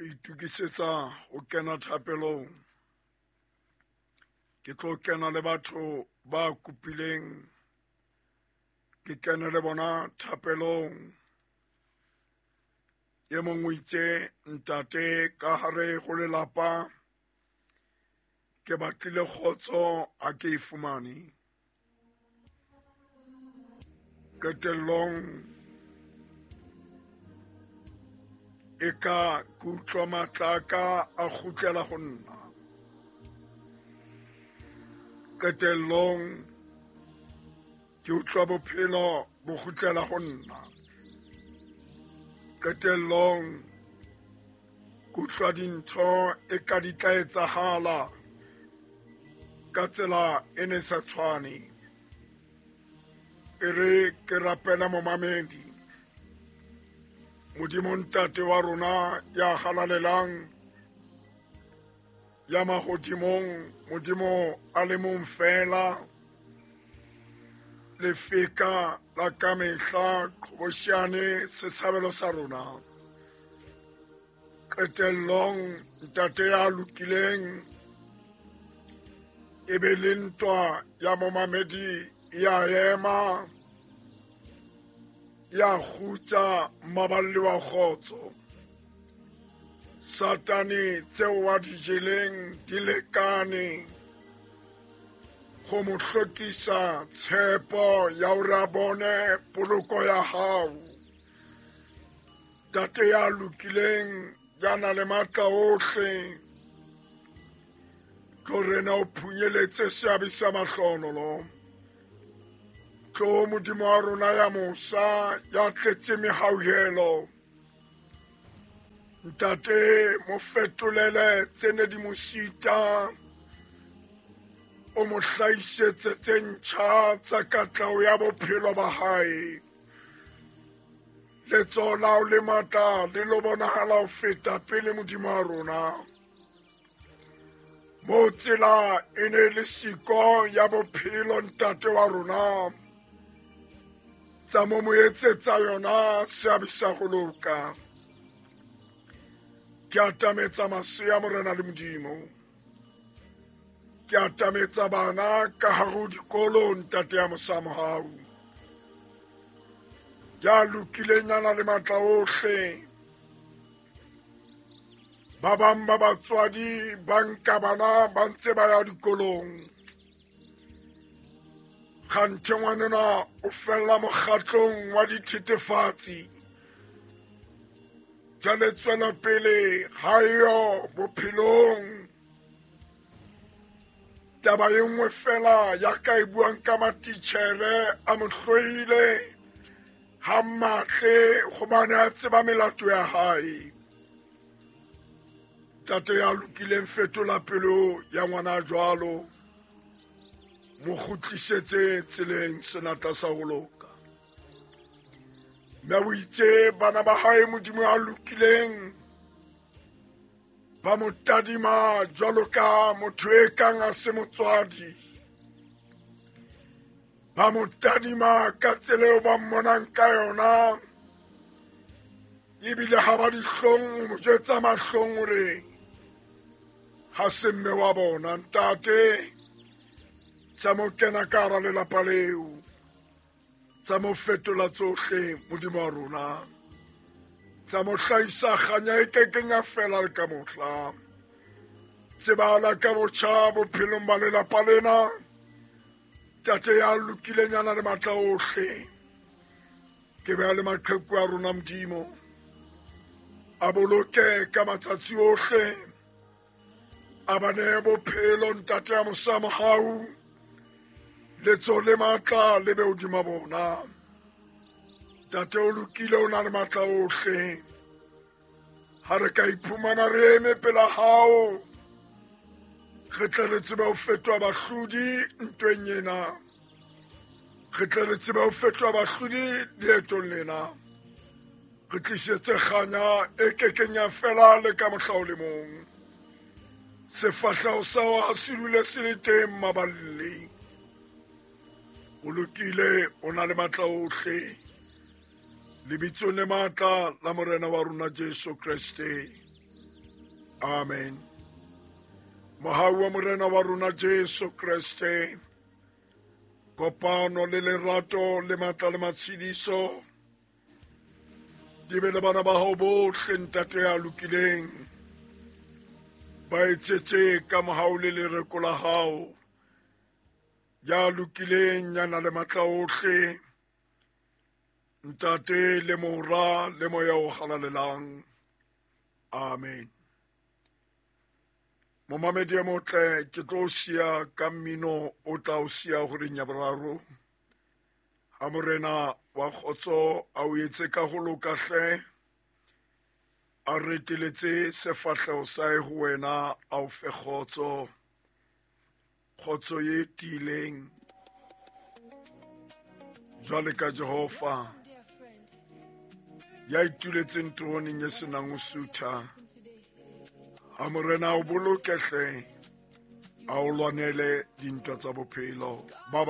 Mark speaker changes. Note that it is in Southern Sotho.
Speaker 1: Re itokisetsa ho kena thapelong. Ke tlo kena le batho ba kopileng ke kene le bona thapelong. E mong o itse ntate ka hare ho lelapa ke batlile kgotso ha ke e fumane. Qetellong e ka ke utlwa matla a ka a kgutlela ho nna. Qetellong ke utlwa bophelo bo kgutlela ho nna. Qetellong ke utlwa dintho e ka di tla etsahala ka tsela e ne sa tshwane. E re ke rapela momamedi. Modimo ntate wa rona ya halalelang ya mahodimong, Modimo a le mong fela, lefika la kamehla, qhobosheane setshabelo sa rona. Qetellong ntate ya lokileng e be le ntwa ya momamedi ya ema ya kgutsa mmaballi wa kgotso. Satane tseo wa di jeleng di lekane go mo hlokisa tshepo ya hore a bone poloko ya hao. Tate ya lokileng ya na le matla ohle, tlo rena o phunyeletse seabe sa mahlonolo. Tlo Modimo wa rona ya mosa ya tletse mehauhelo. Ntate mo fetolele tse ne di mo sita, o mo hlahisetse tse ntjha tsa katleho ya bophelo ba hae. Letsoho la hao le matla le lo bonahala ho feta pele Modimo wa rona. Mo tsela e ne le siko ya bophelo ntate wa rona, tsa mo mo etsetsa yona seabe sa go loka. Ke atametsa masea Morena le Modimo. Ke atametsa bana ka hare ho dikolo ntate ya mosa mohau. Ya lokileng ya na le matla ohle. Ba bang ba batswadi ba nka bana ba ntse ba ya dikolong. Kganthe ngwanenwa o fella mokgatlong wa dithethefatsi. Jwale tswelopele ha eyo bophelong. Taba e nngwe fela ya ka e buang ka matitjhere a mo hloile ha matle gobane a tseba melato ya hae. Tate ya lokileng fetola pelo ya ngwana jwalo, mo kgutlisetse tseleng senatla sa ho loka. Mme o itse bana ba hae Modimo ya lokileng ba mo tadima jwalo ka motho e kang a se motswadi. Ba mo tadima ka tsela eo ba mmonang ka yona, ebile ha ba dihlong ho mo jwetsa mahlong hore ha se mme wa bona. Ntate, tsa mo kena ka hara lelapa leo, tsa mo fetola tsohle Modimo wa rona, tsa mo hlahisa kganya e kekeng ya fela le ka mohla. Tsebahala ka botjha bophelong ba lelapa lena, tate ya lokileng ya na le matla ohle. Ke beha le maqheku a rona Modimo, a boloke ka matsatsi ohle, a ba nehe bophelo ntate ya mosa mohau, letsoho le matla le be hodima bona. Ntate o lokile, o na le matla ohle. Ha re ka iphumana re eme pela hao, re tle re tsebe ho fetoha bahlodi ntweng ena. Re tle re tsebe ho fetoha bahlodi leetong lena. Re tlisetse kganya e kekeng ya fela le ka mohla o le mong. Sefahleho sa hao ha se dule se le teng maballi. O lokile, o na le matla ohle. Lebitsong le matla la Morena wa rona Jesu Kreste. Amen. Mohau wa Morena wa rona Jesu Kreste, kopano le lerato le matla le matshediso di be le bana ba hao bohle, Ntate ya lokileng. Ba etsetse ka mohau le lereko la hao, ya lokileng, ya na le matla ohle, Ntate le Mora le Moya o Halalelang. Amen. Momamedi e motle, ke tlo siya ka mmino o tla o siya horeng ya boraro. Ha Morena wa kgotso a o etse ka ho loka hle, a reteletse sefahleho sa hae ho wena, a o fe kgotso, kgotso ye tiileng jwale ka Jehova ya ituletseng teroneng e senang ho sutha. Ha Morena o boloke hle, a o lwanele dintwa tsa bophelo. Bye bye.